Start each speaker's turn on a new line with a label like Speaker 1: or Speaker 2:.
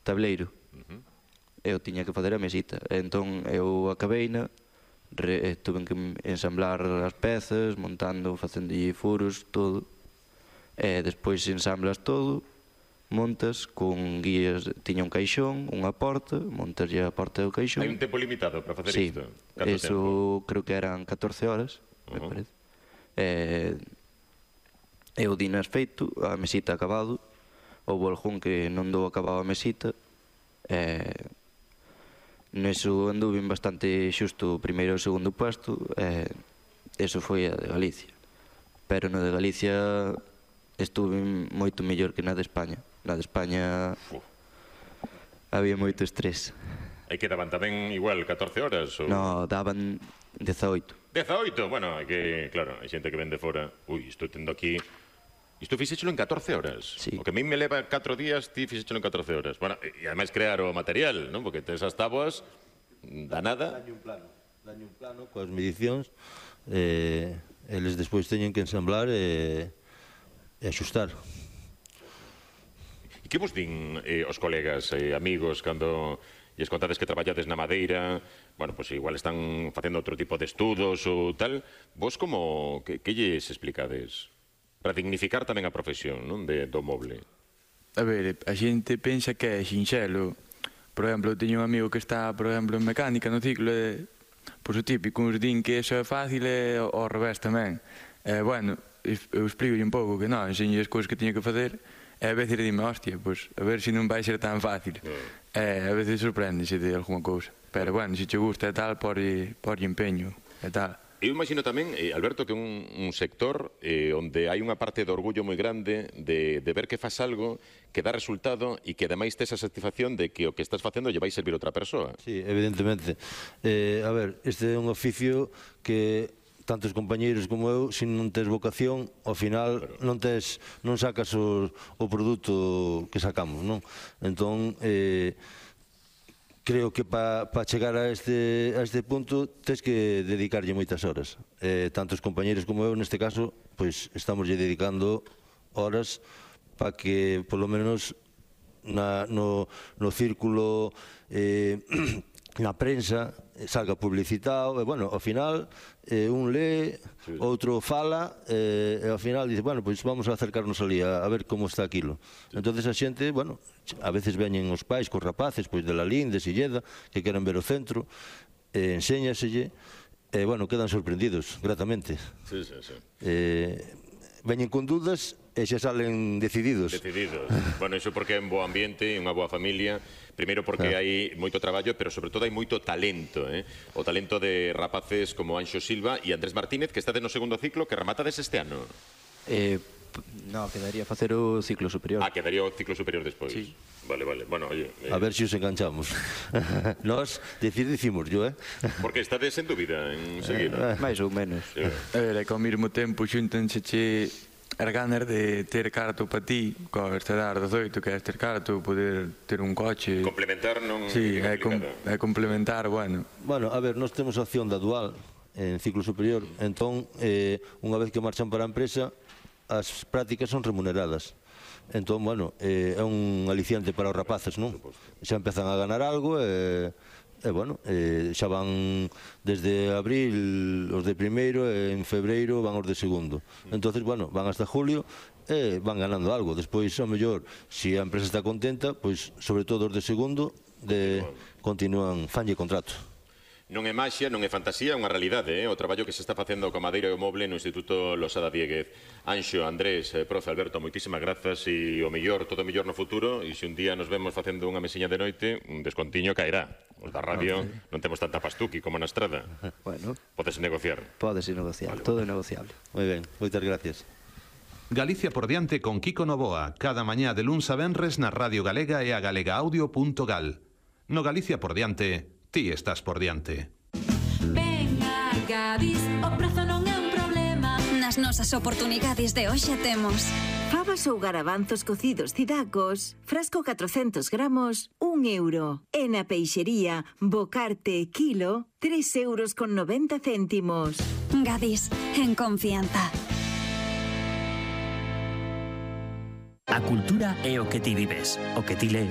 Speaker 1: tableiro. Eu tiña que facer a mesita. Entón eu acabeina, tuve que ensamblar as pezas, montando, facendo furos, todo. Despois ensamblas todo, montas con guías, tiña un caixón, unha porta, montas a porta do caixón.
Speaker 2: Hai un tempo limitado para facer isto?
Speaker 1: Sí, eso creo que eran 14 horas, me parece. Eu dinas feito, a mesita acabado, houve algún que non dou acabado a mesita, neso anduve bastante xusto o primeiro e o segundo puesto, eso foi a de Galicia. Pero no de Galicia estuve moito mellor que na de España. Na de España había moito estrés.
Speaker 2: E que daban tamén igual 14 horas?
Speaker 1: No, daban 18.
Speaker 2: 18? Bueno, hai que, claro, hai xente que ven de fora. Ui, estou tendo aquí... Isto fixéchelo en 14 horas.
Speaker 1: Sí.
Speaker 2: O que a mí me leva 4 días, ti fixéchelo en 14 horas. Bueno, e ademais crear o material, non? Porque tes as táboas da nada.
Speaker 3: Daño un plano coas medicións, eles despois teñen que ensamblar e axustar.
Speaker 2: E que vos din os colegas e amigos cando lles contades que traballades na madeira, bueno, pois igual están facendo outro tipo de estudos ou tal, vos como, que lles explicades? Para dignificar tamén a profesión, non, do moble.
Speaker 4: A ver, a xente pensa que é sinxelo. Por exemplo, eu teño un amigo que está, por exemplo, en mecánica no ciclo e, pois o típico, uns din que iso é fácil e ao revés tamén. Bueno, eu explico un pouco que non, enseño as cousas que teño que facer e a veces dime, hostia, pois a ver se non vai ser tan fácil. A veces sorprendese de alguma cousa. Pero bueno, se che gusta e tal, por empeño e tal.
Speaker 2: Eu imagino tamén, Alberto, que un sector onde hai unha parte de orgullo moi grande de ver que faz algo que dá resultado e que ademais tes a satisfacción de que o que estás facendo lle vai servir a outra persoa.
Speaker 3: Sí, evidentemente. A ver, este é un oficio que tantos compañeiros como eu, se non tes vocación, ao final non sacas o produto que sacamos, non? Entón, creo que para chegar a este punto tens que dedicarlle moitas horas. Tantos compañeiros como eu, neste caso, pois estamos lle dedicando horas para que, polo menos, no círculo, na prensa, salga publicitado, e, bueno, ao final, un lee, outro fala, e ao final dice, bueno, pois vamos a acercarnos ali a ver como está aquilo. Entonces a xente, bueno, a veces veñen os pais cos rapaces, pois de Lalín, de Silleda, que queren ver o centro, enséñaselle, e, bueno, quedan sorprendidos, gratamente.
Speaker 2: Sí, sí, sí.
Speaker 3: Veñen con dudas e xa salen decididos.
Speaker 2: Decididos. Bueno, iso porque é un bo ambiente e unha boa familia. Primeiro porque hai moito traballo, pero sobre todo hai moito talento, o talento de rapaces como Anxo Silva e Andrés Martínez, que estades no segundo ciclo, que rematades este ano.
Speaker 1: No, quedaría facer o ciclo superior.
Speaker 2: Quedaría o ciclo superior despois.
Speaker 1: Sí.
Speaker 2: Vale. Bueno, oye...
Speaker 3: A ver se os enganchamos. Nós dicimos yo,
Speaker 2: Porque estades en dúbida en seguir.
Speaker 1: Mais ou menos.
Speaker 4: A ver, é que ao mesmo tempo xuntanse as ganas de ter carto para ti, coa estudar 18, que é ter carto, poder ter un coche.
Speaker 2: Complementar non
Speaker 4: sí,
Speaker 2: é complicado.
Speaker 4: É complementar, bueno.
Speaker 3: Bueno, a ver, nós temos a opción da dual en ciclo superior, entón, unha vez que marchan para a empresa, as prácticas son remuneradas. Entón, bueno, é un aliciante para os rapaces, non? Xa empezan a ganar algo e bueno, xa van desde abril os de primeiro e en febreiro van os de segundo. Entonces, bueno, van hasta julio e van ganando algo. Despois, ao mellor, se a empresa está contenta, pois, sobre todo os de segundo, continúan, fanlle contrato.
Speaker 2: Non é maxia, non é fantasía, é unha realidade, o traballo que se está facendo coa madeira e o moble no Instituto Losada Dieguez. Anxo, Andrés, profe Alberto, moitísimas grazas e o mellor, todo o mellor no futuro, e se un día nos vemos facendo unha mesiña de noite, un descontiño caerá. Os da radio non temos tanta pastuqui como na estrada.
Speaker 1: Bueno.
Speaker 2: Podes negociar.
Speaker 1: Podes negociar, todo é negociable.
Speaker 3: Moi ben, moitas gracias.
Speaker 5: Galicia por diante con Kiko Novoa, cada mañá de luns a venres na Radio Galega e a galegaaudio.gal. No Galicia por diante, ti estás por diante.
Speaker 6: Venga, Gadis, o prazo non é un problema.
Speaker 7: Nas nosas oportunidades de hoxe temos
Speaker 8: fabas ou garabanzos cocidos cidacos, frasco 400 gramos, 1 euro. E na peixería, bocarte kilo, 3,90 €.
Speaker 7: Gadis, en confianza.
Speaker 9: A cultura é o que ti vives, o que ti lees,